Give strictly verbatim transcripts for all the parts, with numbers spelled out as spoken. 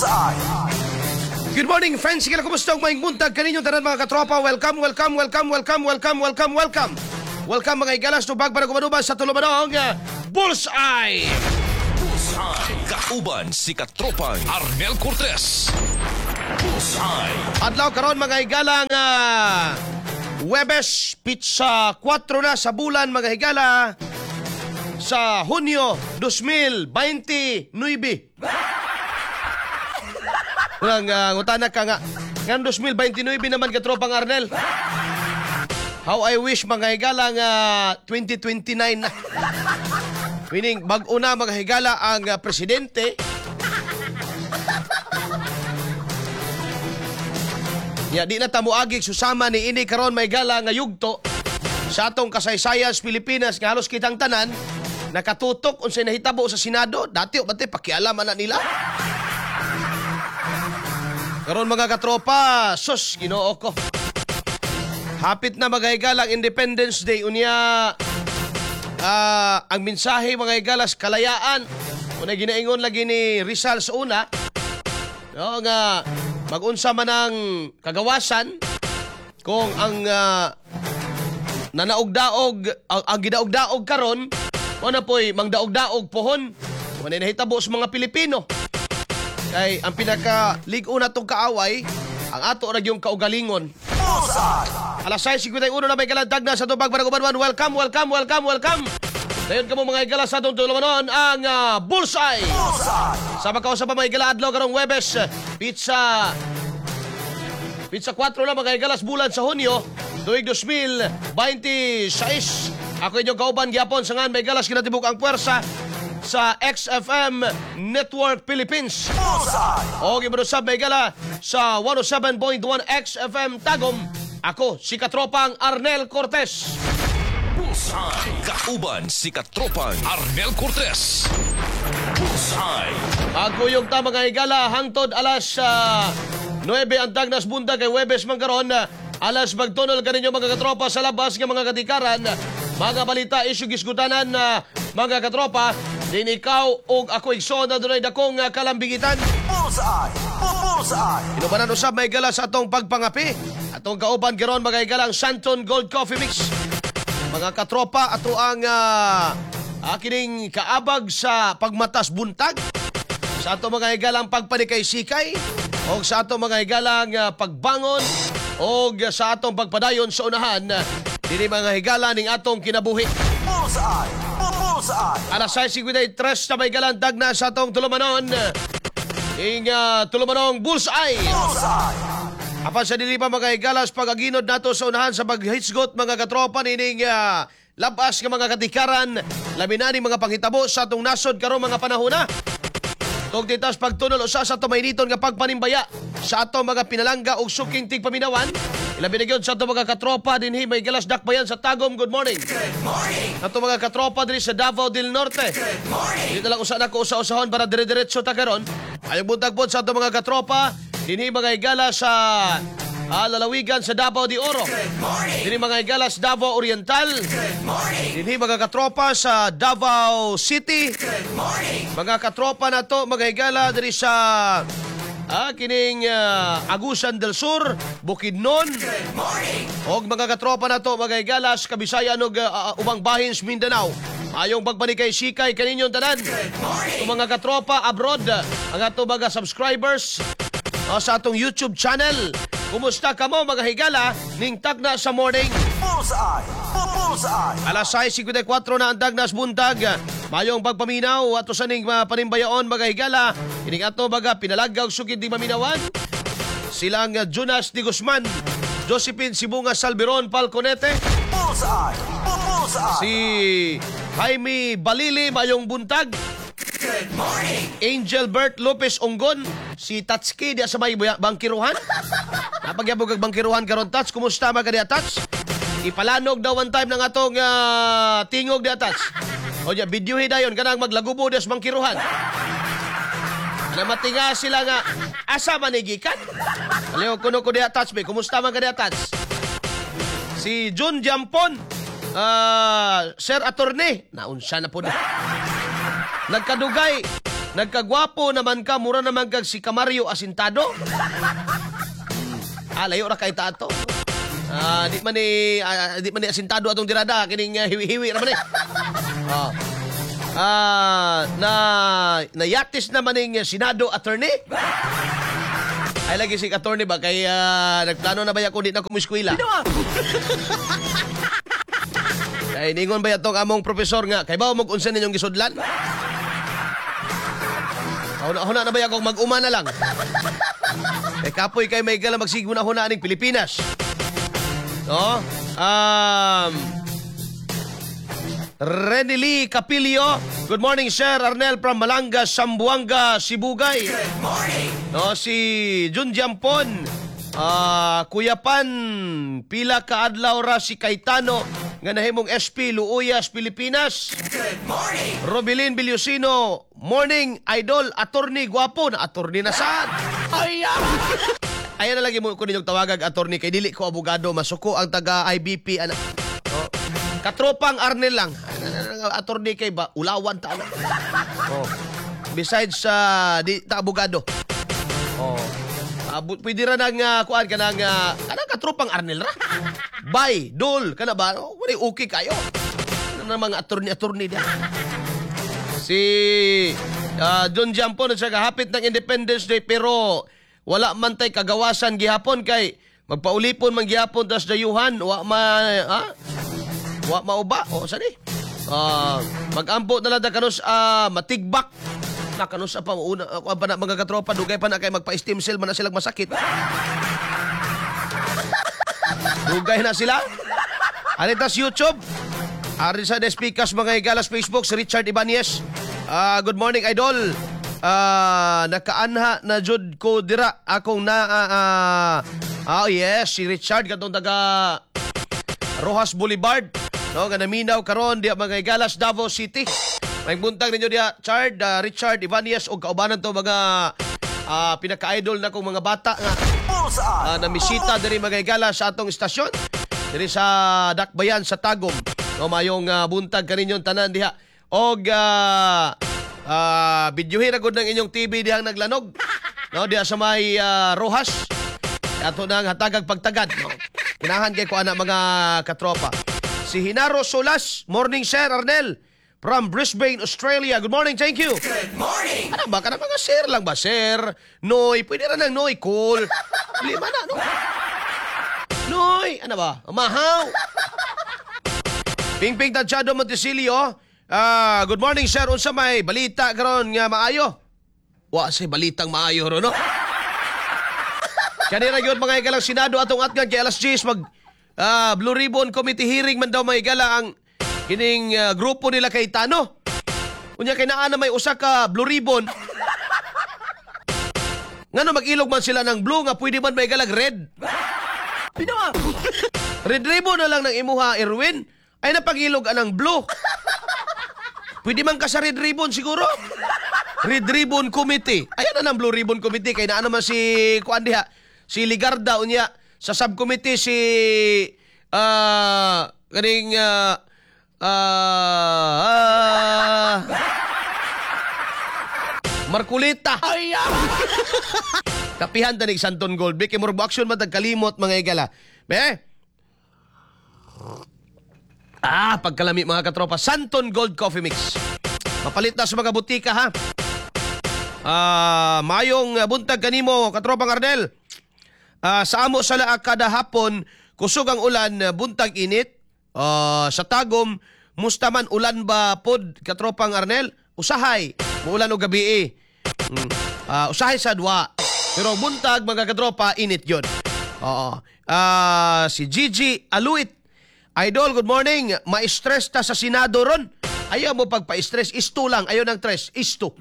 Bullseye! Good morning, friends. Sige, kumusta ang maayong buntag kaninyo tanan, mga katropa? Welcome, welcome, welcome, welcome, welcome, welcome, welcome. Welcome, mga higalas, tubag para kumanuban sa tulumanong uh, Bullseye! Bullseye. Kauban si Katropang Arnel Cortez. Bullseye. Adlaw karon, mga higalang, uh, Webes, petsa kwatro na sa bulan, mga higala, sa Hunyo dalawang libo bente-nuwebe. Unang uh, ngutana ka nga, nga dalawang libo bente-nuwebe naman, katropang Arnel. How I wish, mga higala, nga twenty twenty-nine na. Meaning, bag-o na, mga higala, ang uh, presidente. Ya, di na ta moagi susama ni ini karon may gala nga yugto sa atong kasaysayan sa Pilipinas nga halos kitang tanan nakatutok unsay nahitabo sa Senado. Dati o bate pakialaman na nila. Karon, mga katropa, sus, Ginoo ko. Hapit na, mga higala, ang Independence Day, unya ah, ang mensahe, mga higalas, kalayaan. Una ginaingon lagi ni Rizal sa una, no, nga magunsa man ang kagawasan kung ang ah, nanaog-daog ang, ang gidaog-daog karon mo na po'y mangdaog-daog pohon kung ano nahitabo sa mga Pilipino. Kay ang pinaka lig-o na tong kaaway ang ato ra yung kaugalingon. Bullseye! Alas sais singkwenta y uno na may kalantag na sa tubag para kubanwan. Welcome, welcome, welcome, welcome. Dayon kamo, mga higala, sa atong tulumanon ang ah, Bullseye. Bullseye! Sa pagkausap pa, mga higala, adlaw karong Webes, petsa petsa kwatro na, mga higalas, bulan sa Hunyo, tuig dalawang libo bente-sais. Ako inyong kauban gyapon sa ngan may galas kinatibuk ang puwersa sa X F M Network Philippines. Bullseye! O gibarusab may gala sa one oh seven point one X F M Tagum. Ako si Katropang Arnel Cortez. Bullseye. Kauban si Katropang Arnel Cortez. Bullseye. Magkuyog ta, mga higala, hangtod alas uh, nuwebe ang tagnas buntag kay Webes man karon. Alas magtunol kaninyo, mga katropa, sa labas nga mga katikaran. Mga balita, isyu gisgutanan na mga katropa. Din ikaw og ako, igsoon, na dunay dakong uh, kalambigitan. Bullseye! Bullseye! Inubanan usab may gala sa atong pagpangapi. Atong kauban karon, mga higala, ang Santon Gold Coffee Mix. Mga katropa, ato ang uh, kining kaabag sa pagmatas buntag. Sa ato, mga higalang, pagpanikay-sikay o sa ato, mga higalang, uh, pagbangon o sa atong pagpadayon sa unahan dinhi, mga higala, ning atong kinabuhi. Bullseye! Bullseye! Alas sais singkwenta y tres na may galang na sa atong tulumanon. Ing uh, tulumanong Bullseye. Bullseye! Apan sa dili pa, mga higalas, pag-aginod nato sa unahan sa paghisgot, mga katropa, nining uh, labas nga mga katikaran, labi na ning mga panghitabo sa atong nasod karong mga panahon na. Tug titas pagtunol usa sa tumayniton nga pagpanimbaya sa atong mga pinalangga ug suking tigpaminawan. Ilabi na gyud sa atong mga katropa dinhi may galas dakbayan sa Tagum. Good morning. Good morning. Ato mga katropa dinhi sa Davao del Norte. Good morning. Dito lang usa na ko usa-usahon para dire-diretso ta karon. Ayong buntag pod sa atong mga katropa dinhi, mga higala, sa ah, lalawigan sa Davao de Oro. Good morning. Dinhi, mga higala, sa Davao Oriental. Good morning. Dinhi, mga katropa, sa Davao City. Good morning. Mga katropa nato, mga higala, diri sa ah, kining ah, Agusan del Sur, Bukidnon. Good morning. Og mga katropa nato, mga higala, sa Kabisayan ug ah, ubang bahin sa Mindanao. Ayong pagpanikay sikay kaninyong tanan. Good morning. Mga katropa abroad, ang ato mga subscribers ah, sa atong YouTube channel. Kumusta kamo, mga higala, ning tagna sa morning? Bullseye! Bullseye! Alas sais singkwenta y kwatro na ang dagnas buntag. Mayong pagpaminaw ato sa ning mga panimbayaon, mga higala. Ining ato mga pinalagaw sukid di maminawan. Silang uh, Jonas Di Guzman, Josephine Sibunga Salveron Falconete, Bullseye! Bullseye! Si Jaime Balili, mayong buntag. Good morning! Angel Bert Lopez Onggon, si Tatski diya sa may buya- bangkiruhan. Napagyabog ang bangkiruhan karon, Tats. Kumusta mga diya, Tats? Ipalanog daw one time ng atong ah, tingog diya, Tats. O diya, videohi dayon kanang maglagubo diya sa bangkiruhan. Na matinga sila nga asa man ni gikan. Aliw kuno ko diya, Tats be. Kumusta man ka diya, Tats? Si Jun Jampon, ah, Sir Attorney, naunsa na po na. Nagkadugay. Nagkagwapo naman ka, mura naman kag si Camario Asintado. Ah, layo ra kay ta ato. Ah, di man ni ah, di man ni asintado atong tirada kining uh, hiwi-hiwi ra man ni. Ah. Ah, na nayatis naman ning Senado attorney. Ay lagi si attorney ba kay ah, nagplano na ba ya kung di na ko eskwela? Kay ningon ba yatong among profesor nga kay bawo mo unsa ninyong gisudlan? Huna-huna na ba ya kung mag-uma na lang? Eh kapoy kay may gala magsigmo na huna aning Pilipinas. No? Um, Renny Lee Capilio. Good morning, Sir Arnel from Malanga, Zamboanga, Sibugay. Good morning. No, si Jun Jampon. Ah, Kuya Pan, pila ka adlaw ra si Cayetano nga nahimong S P Luuyas, Pilipinas. Good morning. Robilin Bilyosino, morning, idol, attorney guwapo na attorney na sad. Ay, Ayan na lagi mo ko ninyong tawagag attorney kay dili ko abogado, masuko ang taga I B P ana. Oh. Katropang Arnel lang. Attorney kay ba ulawan ta ana. Oh. Besides sa di ta abogado. Oh. Abot pwede ra nang uh, kuan kanang uh, kanang katropang Arnel ra. Bay, dol kana ba? Oh, wala okay kayo. Ano na mga attorney-attorney diyan. Si uh, John Jampo na siya hapit ng Independence Day pero wala man tay kagawasan gihapon kay magpaulipon man gihapon tas dayuhan wa ma ha? Wa mauba o sani. Ah, magampo na lang da kanus ah, matigbak na kanus pa una uh, pa na mga katropa, dugay pa na kay magpa-stem cell man na silang masakit. Dugay na sila. Anitas YouTube. Ari sa Despikas mga igalas Facebook si Richard Ibanez. Ah, good morning, idol. Ah, nakaanha na jud ko dira akong na ah, ah, ah, yes, si Richard katong taga Rojas Boulevard. No, nga naminaw karon diya mga igalas Davao City. May buntag ninyo diya Chard, ah, Richard Ibanez og kaubanan to mga ah, pinaka-idol na kong mga bata nga Bullseye. uh, namisita diri mga higala sa atong istasyon diri sa Dakbayan sa Tagum. No, mayong ah, buntag kaninyong tanan diha. Og uh, uh, videohin ra gud ng inyong T V dihang naglanog. No, diha sa may ah, Rojas. Ato nang hatagag pagtagad, no. Kinahan kay ko ana mga katropa. Si Hinaro Solas, morning, Sir Arnel from Brisbane, Australia. Good morning, thank you. Good morning. Ano ba? Kana mga sir lang ba? Sir, Noy, pwede ra nang Noy, cool. Lima na, no? Noy, ano ba? Mahaw. Ping Ping Tadjado Montesilio. Ah, good morning, sir. Unsa may balita karon nga maayo? Wa say balitang maayo ro, no? Kanira gyud mga higalang Senado atong atgan kay alas diyes mag ah, Blue Ribbon Committee hearing man daw mga higala ang kining ah, grupo nila Cayetano. Unya kay naa na may usa ka Blue Ribbon. Ngano mag-ilog man sila ng blue nga pwede man may galag red? Red ribbon na lang ng imuha, Erwin. Ay napag-ilog anang blue. Pwede man ka sa Red Ribbon siguro. Red Ribbon Committee. Ayan na ng Blue Ribbon Committee. Kay naa naman si kuan diha. Si Ligarda unya sa subcommittee si ah kaning ah ah, Marculita. Ay, Kapihan tanig Santon Gold. Kay murag action man tag kalimot mga igala. Be? Ah, pagkalami mga katropa. Santon Gold Coffee Mix. Mapalit na sa mga butika ha. Ah, mayong buntag kanimo katropang Arnel. Ah, sa amo sa laak kada hapon, kusog ang ulan, buntag init. Ah, sa Tagum, musta man ulan ba pod katropang Arnel? Usahay, muulan og gabi eh. Mm. Ah, usahay sa dua. Pero buntag mga katropa, init yun. Oo. Ah, si Gigi Aluit. Idol, good morning. Ma-stress ta sa Senado ron. Ayaw mo pagpa-stress, isto lang. Ayaw ng stress, isto.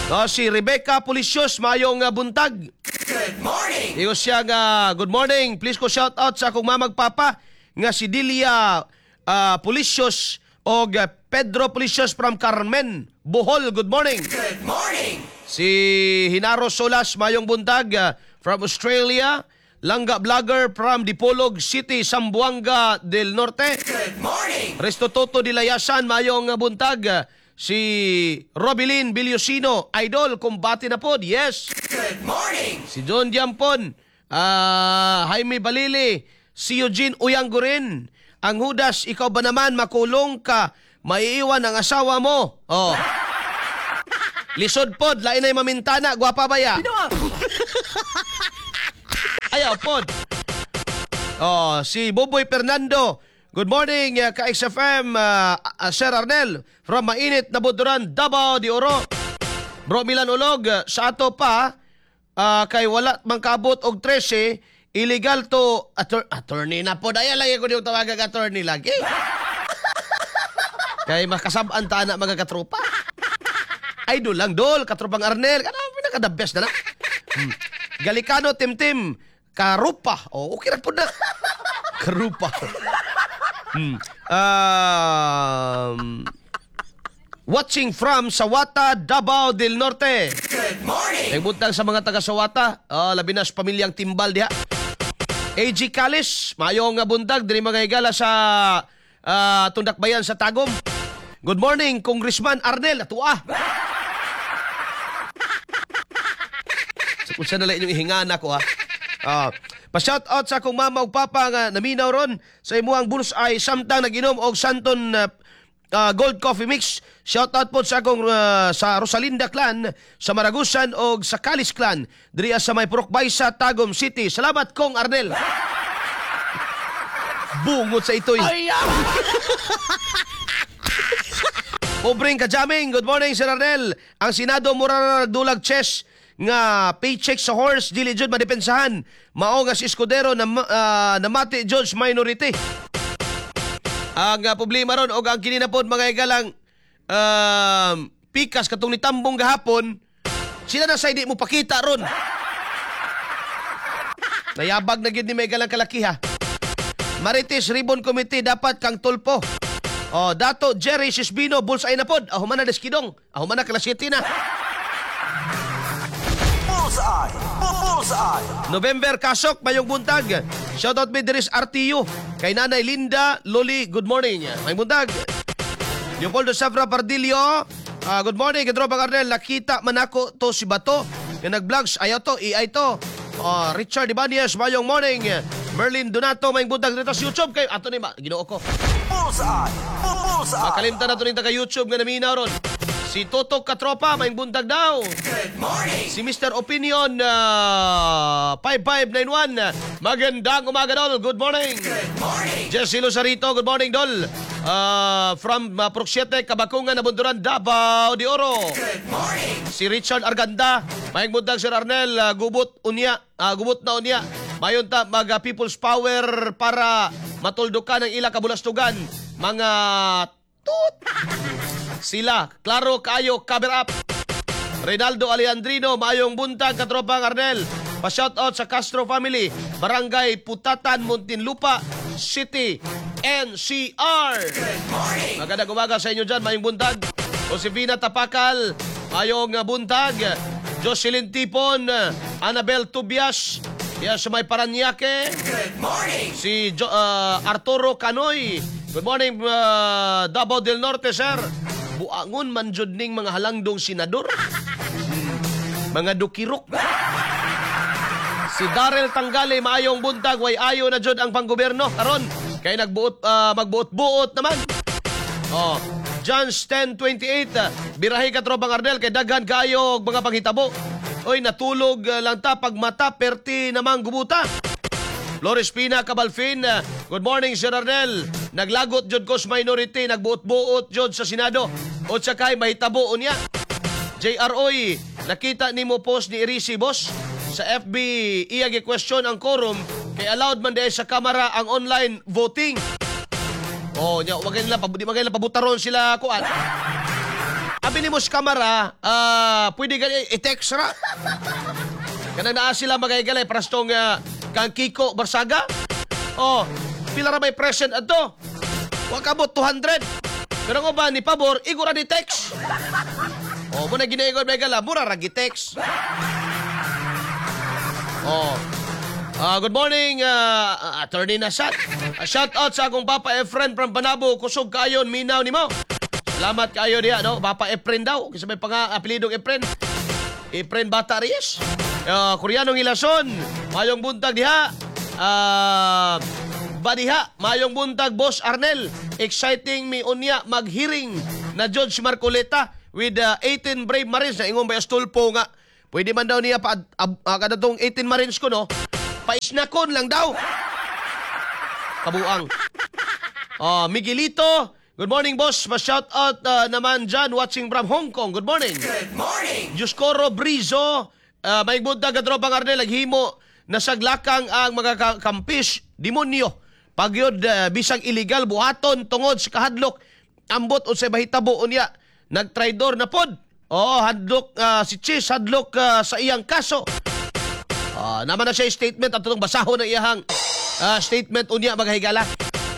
No, si Rebecca Policios, mayong uh, buntag. Good morning. Iyo siya nga, good morning. Please ko shout out sa akong mamag papa nga si Delia uh, Policios og uh, Pedro Policios from Carmen, Bohol. Good morning. Good morning. Si Hinaro Solas, mayong buntag uh, from Australia. Langga Vlogger from Dipolog City, Zamboanga del Norte. Good morning. Resto Toto de Layasan, mayong buntag. Si Robilin Bilyosino, idol, kumbati na pod. Yes. Good morning. Si John Diampon, ah, Jaime Balili, si Eugene Uyanggurin. Ang Judas, ikaw ba naman makulong ka, maiiwan ang asawa mo? Oh. Lisod pod, lain na mamintana, gwapa ba ya? Ayaw pod. Oh, si Boboy Fernando. Good morning, uh, ka-X F M, uh, uh, Sir Arnel from mainit na Buduran, Davao de Oro. Bro Milan Ulog, uh, sa ato pa, ah, kay wala man kaabot og trese, illegal to attor- attorney na po. Daya lagi ko niyong tawagan attorney lagi. Kay makasab-an ta na mga katropa. Idol lang, dol, katropang Arnel. Kana pinaka the best na na. Hmm. Galikano Timtim, Karupa. Oh, okay ra po na. Karupa. Hmm. Um, watching from Sawata, Davao del Norte. Good morning. Nagbuntag sa mga taga Sawata, uh, labi na sa pamilyang Timbal diha. A G Calis, maayong nga buntag diri mga higala sa ah, Tundakbayan sa Tagum. Good morning, Congressman Arnel Atua. So, kung saan na lang inyong ihingana ko ha. Ah, pa-shout out sa akong mama ug papa nga naminaw ron sa imuhang Bullseye samtang nag-inom og Santon ah, ah, Gold Coffee Mix. Shout out po sa akong ah, sa Rosalinda Clan, sa Maragusan og sa Calis Clan diri sa may Purok Baysa, Tagum City. Salamat, Kong Arnel. Bungot sa itoy. Pobreng kajaming, good morning, Sir Arnel. Ang Senado mura na nagdulag chess nga paycheck sa horse, dili jud madepensahan. Mao nga si Escudero na uh, namati judge minority. Ang uh, problema ron og ang kini na pod, mga igalang, um, pikas katong nitambong gahapon, sila na sa hindi mo pakita ron. Nayabag na gyud ni may galang kalakiha. Marites Ribbon Committee dapat kang Tulfo. Oh, Dato Jerry Sisbino, bullseye na pod. Ahuman na deskidong. Ahuman na alas siyete na. Bullseye. Bullseye. November Kasok, mayong buntag. Shoutout mi diri sa R T U. Kay Nanay Linda Loli, good morning. Mayong buntag. Leopoldo Safra Pardillo, ah, good morning. Katropang Arnel, nakita man ako to si Bato. Nga nag-vlogs, ayaw to, A I to. Ah, Richard Ibanez, mayong morning. Merlin Donato, mayong buntag dito sa YouTube. Kay, ato ni ma, Ginoo ko. Bullseye. Bullseye. Makalimtan na to ning taga YouTube nga naminaw ron. Si Toto Katropa, mayong buntag daw. Good morning. Si Mister Opinion uh, five five nine one. Magandang umaga, Dol. Good morning. Good morning. Jesse Luzarito, good morning, Dol. Uh, from uh, Purok siyete, Kabakungan, Nabunduran, Davao de Oro. Good morning. Si Richard Arganda, mayong buntag, Sir Arnel, uh, gubot unya, uh, gubot na unya. Mayon ta mag uh, People's Power para matuldukan ang ila kabulastugan. Mga tut. Sila, klaro kaayo, cover up. Reynaldo Alejandrino, maayong buntag, katropang Arnel. Pa-shout out sa Castro family, Barangay Putatan, Muntinlupa City, N C R. Good morning. Magandang umaga sa inyo dyan, maayong buntag. Josefina Tapakal, maayong buntag. Jocelyn Tipon, Annabel Tubias, yan sa may Paranaque. Good morning. Si Jo- ah, Arturo Canoy. Good morning, ah, Davao del Norte, sir. Buangon man jud ning mga halangdong senador. Hmm. Mga dukirok. Si Darrell Tanggale, maayong buntag, way ayo na jud ang panggobyerno karon kay nagbuot ah, magbuot-buot naman. Oh, Johns ten twenty-eight, ah, birahe ka, tropang Arnel, kay daghan kaayo og mga panghitabo. Oy, natulog ah, lang ta pag mata perti namang gubuta. Flores Pina Cabalfin, ah, good morning, Sir Arnel. Naglagot jud ko sa minority, nagbuot-buot jud sa Senado. O kay mahitabo unya. J R Oy, nakita nimo post ni Irisi, boss, sa F B, iya gi-question ang quorum kay allowed man diay sa kamara ang online voting. Oh, nya wag nila di magay nila pabutaron sila kuan. Abi nimo sa kamara, ah, pwede gani i-text ra. Kanang naa sila magaygalay prastong uh, kang Kiko Barsaga. Oh, pila ra may present adto? Wa kabot two hundred. Pero nga ba ni pabor igo ra ni text. Oh, mo na ginaigod may gala, mura ra gi-text. Oh. Ah, good morning, uh, Attorney Nasat. Uh, shout out sa akong papa Efren from Panabo. Kusog kayon, minaw nimo. Salamat kaayo diha, no? Papa Efren daw. Kasi may panga apelidong Efren. Efren Bata Reyes. Uh, Koreanong Ilason. Mayong buntag diha. Ah, Badiha, mayong buntag, Boss Arnel. Exciting mi unya maghearing na Judge Marcoleta with uh, eighteen brave Marines na ingon ba Astulfo nga. Pwede man daw niya pa ab, uh, kada tong eighteen Marines ko, no. Paisnakon lang daw. Kabuang. Oh, Miguelito, good morning, boss. Pa-shout out uh, naman dyan, watching from Hong Kong. Good morning. Good morning. Dioscoro Brizo, uh, may buntag, katropang Arnel, naghimo nasaglakang ang mga ka- kampis, demonyo. Pagyod uh, bisag illegal buhaton tungod sa kahadlok. Ambot unsay mahitabo unya. Nagtraidor na pod. Oh, hadlok uh, si Chiz, hadlok uh, sa iyang kaso. Ah, naman na siya statement at itong basahon ng iyahang ah, statement unya, mga higala.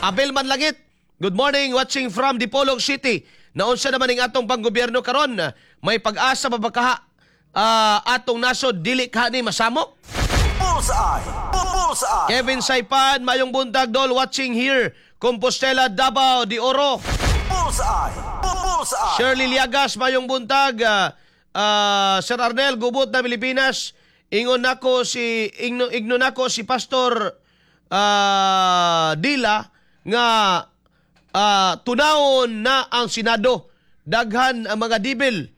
Abel Manlangit, good morning, watching from Dipolog City. Naunsa naman ning atong panggobyerno karon, may pag-asa pa ba kaha ah, atong nasod dili kaha ni masamok? Bullseye. Bullseye. Kevin Saipan, mayong buntag, dol, watching here, Compostela, Davao de Oro. Bullseye. Bullseye. Shirley Liagas, mayong buntag. Ah, ah, Sir Arnel, gubot na Pilipinas. Ingon nako si ingno, igno nako si Pastor ah, Dila nga ah, tunawon na ang Senado. Daghan ang mga dibil.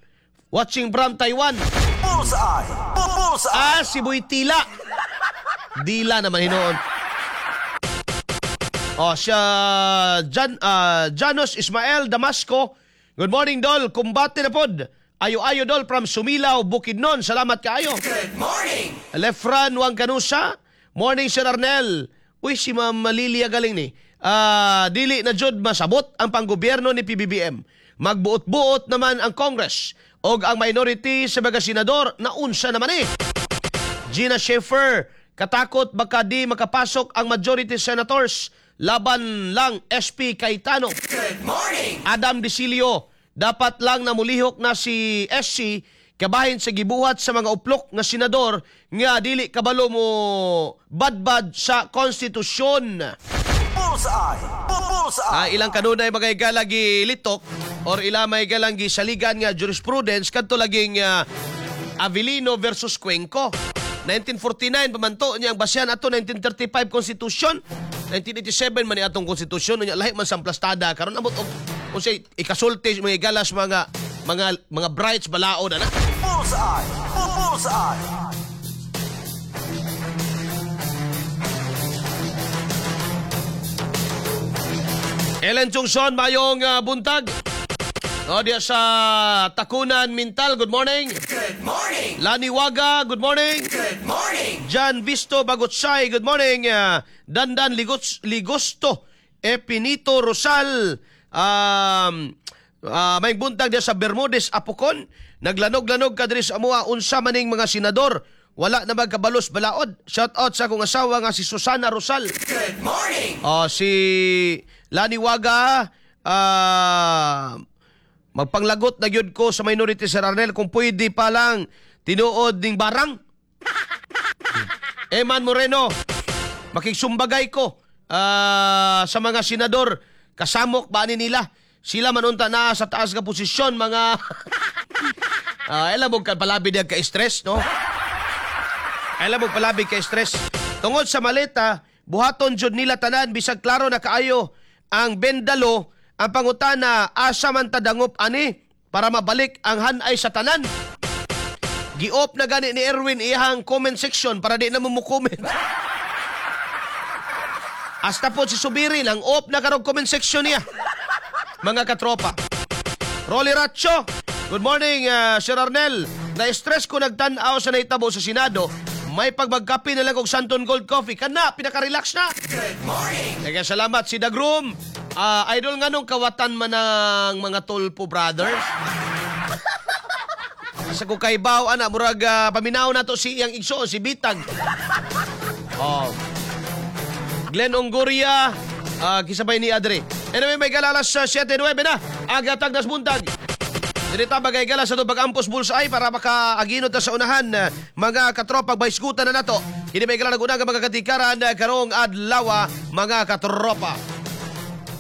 Watching from Taiwan. Bullseye. Bullseye. Ah, si Boy Tila. Dila naman hinuon. Oh, siya Jan, ah, Janos Ismael Damasco. Good morning, Dol. Kumbate na pod. Ayo-ayo, Dol, from Sumilao, Bukidnon. Salamat kaayo. Good morning. Lefran Wangkanusa. Morning, Sir Arnel. Uy, si Ma'am Lilia galing ni. Ah, dili na jud masabot ang panggobyerno ni P B B M. Magbuot-buot naman ang Congress. Og ang minority sa mga senador, naunsa naman eh. Gina Schaefer, katakot baka di makapasok ang majority senators. Laban lang S P Cayetano. Good morning. Adam Dicilio, dapat lang namulihok na si S C kabahin sa gibuhat sa mga uplok nga senador nga dili kabalo mo badbad sa konstitusyon. Bullseye. Bullseye. Ah, ilang kanunay mga higala gilitok or ila may galang gisaligan nga jurisprudence kadto laging ah, Avelino versus Cuenco. nineteen forty-nine pa man to niya ang basyan ato nineteen thirty-five Constitution. nineteen eighty-seven man ni atong konstitusyon niya, lahi man sa plastada karon, amot og unsay ikasulti mga igalas mga mga mga brights balaod ana. Bullseye. Bullseye. Ellen Chungson, mayong ah, buntag. O, diya sa Tacunan Mintal, good morning. Good morning. Lani Waga, good morning. Good morning. John Visto Bagotsay, good morning. Ah, Dandan Ligots, Ligosto, Epinito Rosal, um, ah, may buntag diya sa Bermudez, Apokon. Naglanog-lanog ka diri sa amoa, unsa maning mga senador. Wala na magkabalos balaod. Shout out sa akong asawa nga si Susana Rosal. Good morning. Oh, si Lani Waga, ah, magpanglagot na gyud ko sa minority, Sir Arnel, kung pwede pa lang tinuod ning barang. Eman Moreno, makigsumbagay ko ah, sa mga senador, kasamok ba ni nila? Sila man unta na sa taas nga posisyon mga. Ah, alam mo ka palabi diya ka stress, no? Alam mo palabi ka stress. Tungod sa maleta, buhaton jud nila tanan bisag klaro na kaayo ang bendalo. Ang pangutana, asa man tadangop ani para mabalik ang hanay sa tanan? Gi-off na gani ni Erwin iyang comment section para di na mo mo-comment. Hasta po si Subirin, ang off na karong comment section niya. Mga katropa. Rolly Racho, good morning, uh, Sir Arnel. Na-stress ko nagtan-aw sa nahitabo sa Senado. May pagbagkape na lang og Santon Gold Coffee. Kana, pinaka-relax na. Good morning. Kaya salamat si Dagrum. Ah, idol, nga nung kawatan man ng mga Tulfo Brothers. Sa ko kay Baw, ana, murag ah, paminaw na to si iyang igsoon, si Bitag. Oh. Glenn Ongoria, uh, kisabay ni Adre. Anyway, may galalas sa siyete nuwebe na. Aga tagdas buntag. Dirita bagay gala sa itong pag-ampos bullseye para makaaginot ta sa unahan eh, mga katropa, baiskutan na nato. Kini may gala nag-unang mga katikaran eh, karong adlaw, mga katropa.